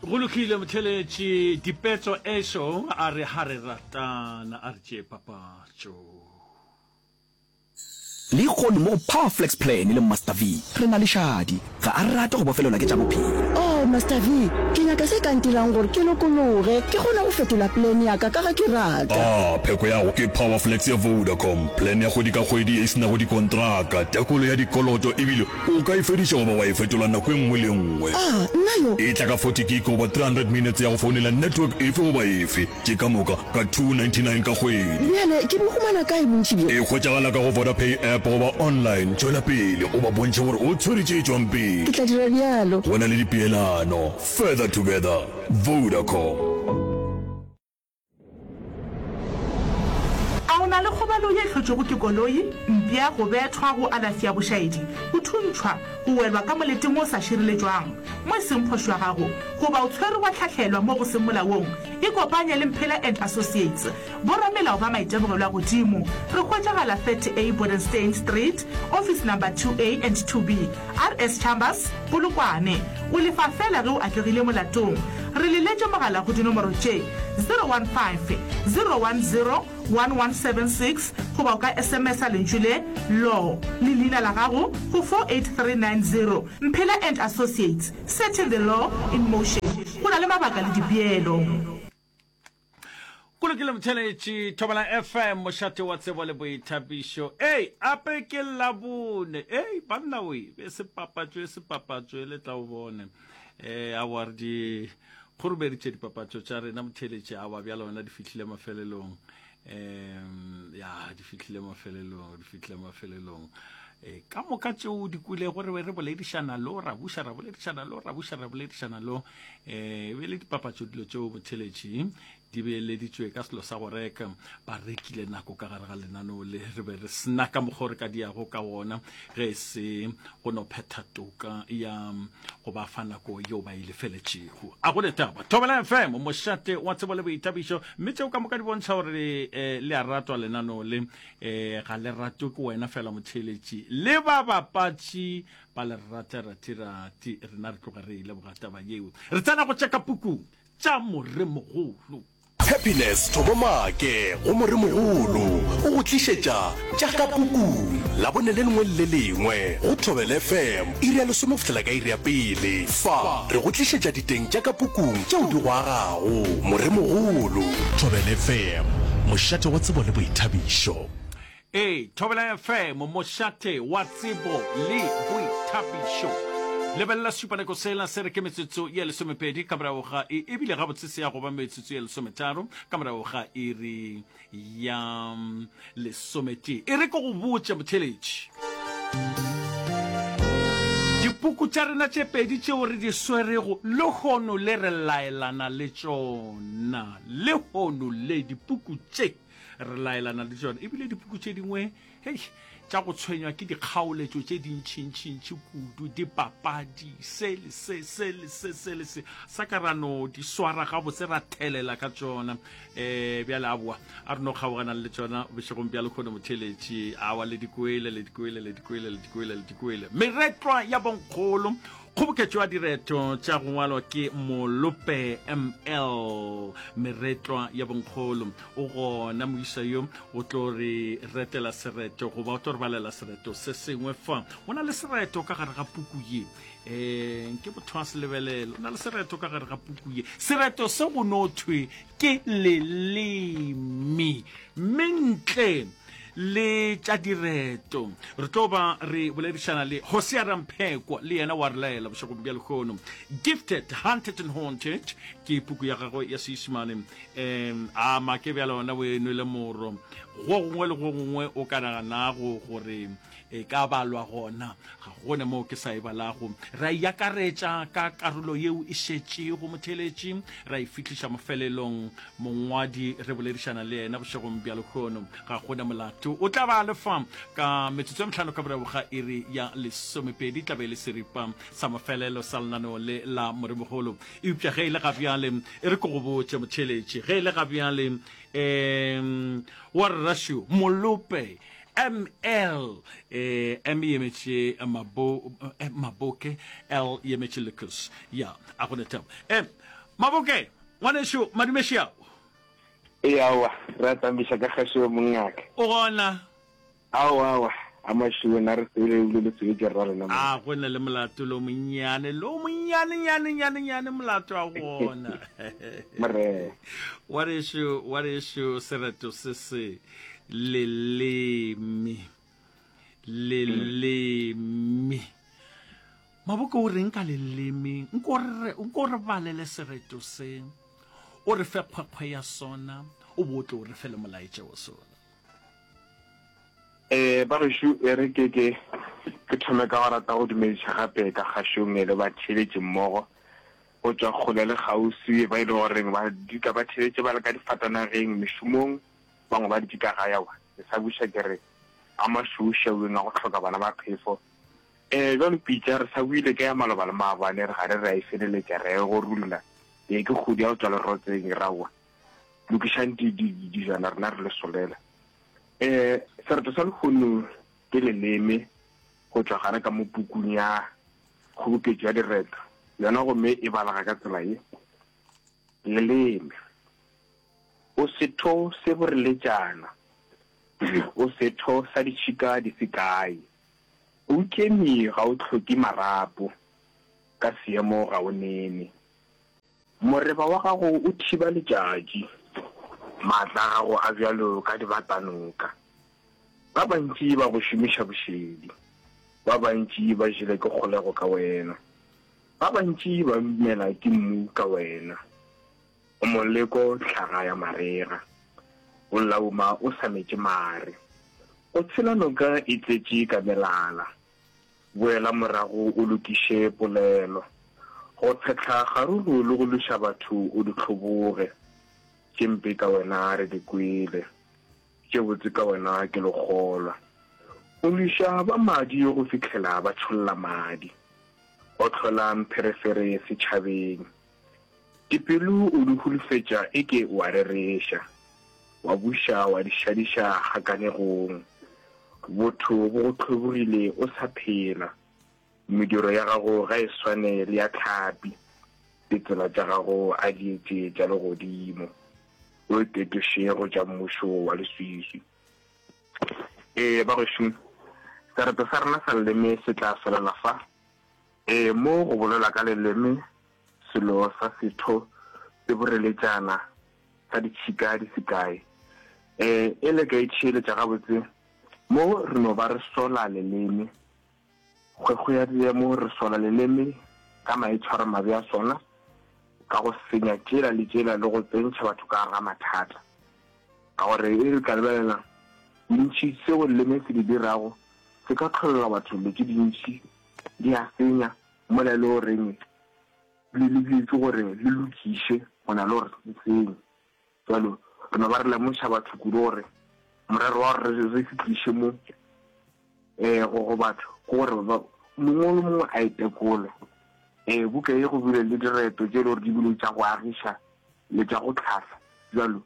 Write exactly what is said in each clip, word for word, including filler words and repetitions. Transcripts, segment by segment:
Go lokile motheletši dipetso ešo a re ha re ratana a re tšee papatšo. Lehono mo go Power Flex Plan le Master V re na le Shadi. Ga a rate go bofelelwa ke tša bophelo. Oh, Master V, ke nyaka se ka ntirang gore ke lokologe, ke kgone go fetola plan ya ka ka ge ke rata. Ah, pheko ya go ke Power Flex ya Vodacom, plan ya kgwedi ka kgwedi ye e se nago dikontraka, tekolo ya dikoloto ebile o ka e fediša goba wa e fetola nako e nngwe le e nngwe. Ah, nna yo. E tla ka forty gig goba three hundred minutes ya go founela network efe goba efe, tše ka moka ka two ninety nine ka kgwedi. Bjale ke bo humana kae bontši bjo? E hwetšagala ka go Vodapay app goba online. Tšwela pele o ba bontšhe gore o tshwere tše tšwang pele. Ke tla dira bjalo. Go na le dipeelano. Further together. Vodacom. A o na le kgobalo ye e hlotšwego ke koloi, mpša, go bethwa, go alafi ya bošaedi, go thuntšhwa, go welwa ka moleteng wo o sa šireletšwang, mo e seng phošo ya gago, goba o tshwerwe wa hlahlelwa mo go seng molaong? Ikopanye le Mphela and Associates, boramelao ba maitemogelo a godimo. Re hwetšagala thirty A Bodenstein Street, Office Number two A and two B, R S Chambers, Polokwane. O lefa feela ge o atlegile molatong. Re leletše mogala go dinomoro tše, zero one five, zero one zero, one one seven six goba o ka S M S-a lentšu le, Law, le leina la gago go four eight three nine zero. Mphela and Associates, setting the law in motion. Go na le mabaka le dipeelo. Go lokile motheletši, Thobela F M, mošate wa tsebo le boithabišo. Ei, ape ke Labone. Ei, banna we, be se papatšo e se papatšo e le tla o bone. Eh, awa re di kgorobeditše dipapatšo tša rena motheletši, awa bjale wena di fihlile mafelelong. Um, ya, di fihlile mafelelong, di fihlile mafelelong. E, ka moka tšeo di kwilego re be re boledišana lo, ra buša ra boledišana lo, ra buša ra boledišana lo. E, be le dipapatšo dilo tšeo motheletši di beeleditšwe ka selo sa go reka, ba rekile nako ka gare ga lenaneo le, re be re sena ka mokgwa re ka diago ka wona ge e se go no phetha toka ya go ba fa nako yeo ba e lefeletšego. A go ne taba. Thobela F M, mošate wa tsebo le boithabišo, mme tšeo ka moka di bontšha gore eh, le a ratwa lenaneo le, eh, ga le ratwe ke wena fela motheeletši, le ba bapatši ba le rata ratirati. Rena re tloga re ile boga taba yeo, re tsena go tša ka pukung tša moremogolo. Happiness Thobo Maake go Moremogolo o go tlišetša tša ka pukung Labone le lengwe le le lengwe go Thobela F M iri ya lesome go fihlela ka iri ya pele. Fa re go tlišetša diteng tša ka pukung tšeo di go agago. Moremogolo. Thobela F M, mošate wa tsebo le boithabišo. Ee, Thobela F M, mošate wa tsebo le boithabišo. Lebelela sešupanako sela se re ke metsotso ye lesomepedi ka morago ga e, ebile gabotse se ya go ba metsotso ye lesometharo ka morago ga iri ya lesometee. E re ke go botše motheeletši, dipuku tša rena tše pedi tšeo re di swerego lehono le re laelana le tšona lehono le, dipuku tše re laelana le tšona, ebile dipuku tše dingwe hei tša go tshwenywa ke dikgaoletšo tše dintšintšintši kudu, dipapadi, se le se, se le se, se le se, sa ka ra no di swara gabotse ra thelela ka tšona. Um bjale aboa a re no kgaogana le tšona bošegong bja lekgono motheeletši. Awa le di kwele, le di kwele, le di kwele, le di kwele, le di kwele. Meretlwa ya bonkgolo, kgoboketšo ya direto tša go ngwalwa ke Molope M L. Meretlwa ya bonkgolo, o gona moisa yo o tlo re retela sereto goba o tlo re balela sereto se sengwe fa. O na le sereto ka gare ga puku ye, um ke motho wa se lebelele, o na le sereto ka gare ga puku ye. Sereto se go no thwe ke leleme, mme ntle le tša direto re tlo ba re boledišana le Hosea Ramphekwa, le yena wa re laela bošegong bja lehono. Gifted, Hunted and Haunted ke puku ya gagwe ya Seisimane. Um a make bjale ona o e nwele moro go gongwe le go gongwe o ka naganago gore e ka balwa gona, ga gone moo ke sa e balago. Ra e akaretša ka karolo yeo e šetšego motheeletši, ra e fihliša mafelelong. Mongwadi re boledišana le yena bošegong bja lehono, ga gona molato, o tla ba lefa ka metsotso e mehlano ka morago ga iri ya lesomepedi, tla be e le seripa sa mafelelo sa lenaneo le la moremogolo. Eupša ge e le ga bjale, e re ke go botše motheeletši, ge e le ga bjale um wa rrašo Molope M L, eh, M e emetše Mabo, eh, Maboke, L e emetše Lucas. Ya, a gone taba. Eh, Maboke, ngwanešu, madume šiao. Ee, aowa, re a tsamaiša ka kgašo yo mongaka. O gona? Aowa, aowa, a mašuwe na re sebele ebile le sebetše rra lena mo. A go na le molato lo monnyane, lo monnyane, nyane, nyane, nyane molato a gona. Morena. Ngwanešu, ngwanešu, sereto se se leleme, leleme. Maboko o reng ka leleme? Nko re, nko re balele sereto se, o re fe kgwekgwe ya sona, o bo o tle o re fe le molaetša wa sona. Ee, bagešo, e re ke ke ke thome ka go rata go dumediša gape ka kgašong le batheeletši mmogo go tšwa kgole le kgauswi ba e le goreng ba dutla ba theeletše ba le ka difatanageng, mešomong, bangwe ba dutše ka gae. Aowa, ke sa buša ke re a mašweušweueng a go hloka bana ba phefo. Ee, bjalo pitša re sa buile ka ya maloba le maabane, re gare re a e feleletša, re a e gorulla. Ee, ke kgodi ya go tšwa lerotseng, ra aowa, lokišang di, di, dijana rena re le solela. Ee, sereto sa lehono ke leleme go tšwa gare ka mo pukung ya kgoboketšo ya direto. Yona gomme e balega ka tsela ye, Leleme. O setho se boreletšana, o setho sa ditšhika di se kae. O ikeme ga o hloke marapo, ka seemo ga o nene. Moreba wa gago o thiba letšatši, maatla a gago a bjalo ka dibatanoka. Ba bantši ba go šomiša bošedi, ba bantši ba jele ke kgolego ka wena, ba bantši ba imela ke mmu ka wena. O moleko hlaga ya marega, o lauma o sa metše mare. O tshela noka e tletše ka melala. Boela morago o lokiše polelo. Go tshetla kgaruru le go lweša batho o di hloboge. Tše mpe ka wena re di kwele, tše botse ka wena ke lekgolwa. O lweša ba madi go fihlela ba tšholla madi. O hlola mpherefere setšhabeng. Dipelo o di hulufetša eke o a rereša, wa buša wa di šadiša kgakanegong. Botho bo go hlobogile o sa phela. Mediro ya gago ga e swane le ya hlapi, ditsela tša gago a di etše tša legodimo. O itetoše go tša mmušo wa leswiswi. Ee, bagešo, sereto sa rena sa leleme se tla felela fa. Ee, mo go bolelwa ka leleme, selo sa setho se boreletšana sa ditšhika di se kae. Ee, e le ka itšheeletša gabotse, mo re no ba re sola leleme. Kgwekgwe ya diemo, re sola leleme ka maitshwaromabe a sona, ka go senya tšela le tšela le go tsentšha batho ka gare ga mathata. Ka gore e re ka lebelela bontši seo leleme se di dirago, se ka hlolela batho dilo tše dintši, di a senya, mola e le goreng le lebetšwe gore le lokiše go na le gore le senye. Bjalo re no ba re lemoša batho kudu gore morero wa gore re se tliše mo um go go batho ke gore mongwe le mongwe a itekole. Um buka ye go bile le direto tše e le gore di bile tša go agiša le tša go hlahla. Bjalo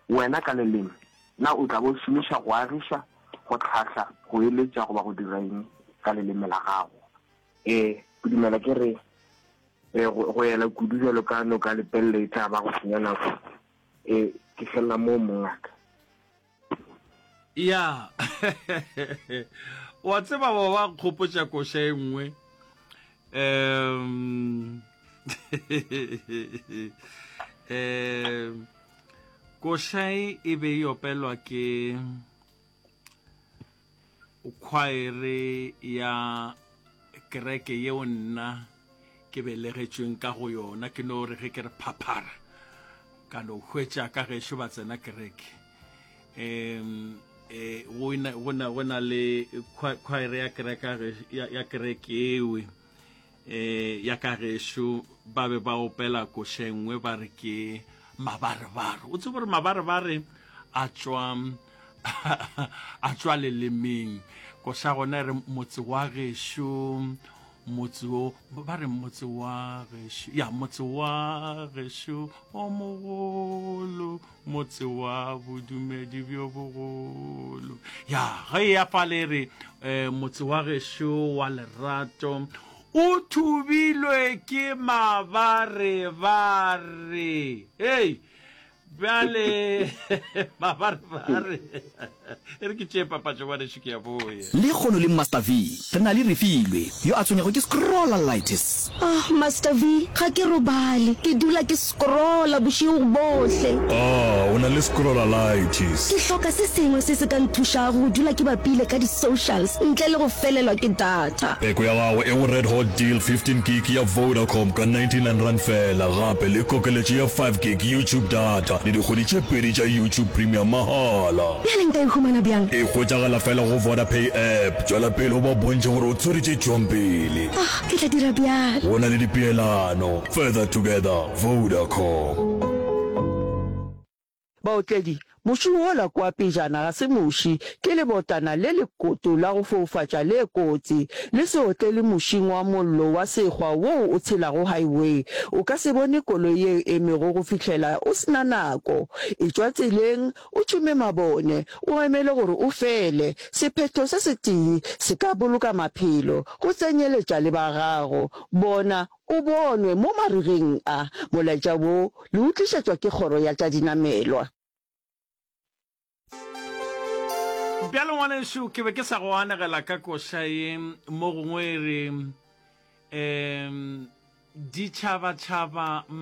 wena ka leleme, na o tla ba o šomiša go agiša, go hlahla, go eletša goba go dira eng ka leleme la gago? Ee, ke dumela ke re ee, go, go ela kudu bjalo ka noka lepelle e tla ba go senya nako. Ee, ke felela moo, mongaka. Ya. Wa tseba ba ba nkgopotša koša e nngwe. Um um koša e e be e opelwa ke khwaere ya kereke yeo nna ke belegetšweng ka go yona. Ke no re ge ke re phaphara ka no hwetša ka gešo ba tsena kereke. Um eh, go na, go na, go na le khwaere ya kereke ya, ya kereke ewe eh, ya ka gešo ba be ba opela koša e nngwe ba re ke mabarebare. O tsebe gore mabarebare a tšwa a tšwa lelemeng. Koša gona e re motse wa gešo, motse o ba re motse wa gešo, ya motse wa gešo o mogolo, motse wa bodumedi bjo bogolo. Ya ge ya fale re eh, motse wa gešo wa lerato O thubilwe ke mabarebare. Hei, bjale mabarebare. E re ke tšee papatšo ngwanešu ke ya boye. Lekgono le Master V re na le Refilwe yo a tshwenyago ke scrollalitis. Ah, Master V, ga ke robale. Ke dula ke scrolla bošego bohle. Ah, o na le scrollalitis. Ke hloka se sengwe se se ka nthušago go dula ke bapile ka di-socials ntle le go felelwa ke data. Peko ya gago e go Red Hot Deal fifteen gig ya Vodacom ka ninety-nine rand feela, gape le kokeletšo ya five gig YouTube data le dikgwedi tše pedi tša YouTube Premium mahala. Bjale nka e humana bjang? E hwetšagala feela go Vodapay app. Tšwela pele o ba bontšhe gore o tshwere tše tšwang pele. Ah, ke tla dira bjalo. Go na le dipeelano. Further together, Vodacom. Baotledi, Muši wola kua pejana ga se muši, ke lebotana le lekoto la go foufatša le kotsi. Le se otlele mušing wa mollo wa sekgwa woo o tshelago highway. O ka se bone koloi ye e emego go fihlela o se na nako. Etšwa tseleng, o tšhume mabone, o emele gore o fele. Sephetho se setee se ka boloka maphelo, go tsenyeletša le ba gago. Bona o bonwe mo marigeng a. Molaetša wo le o tlišetšwa ke Kgoro ya tša Dinamelwa. Bjale ngwanešu, ke be ke sa go anegela ka koša ye mo gongwe e re, um ditšhabatšhaba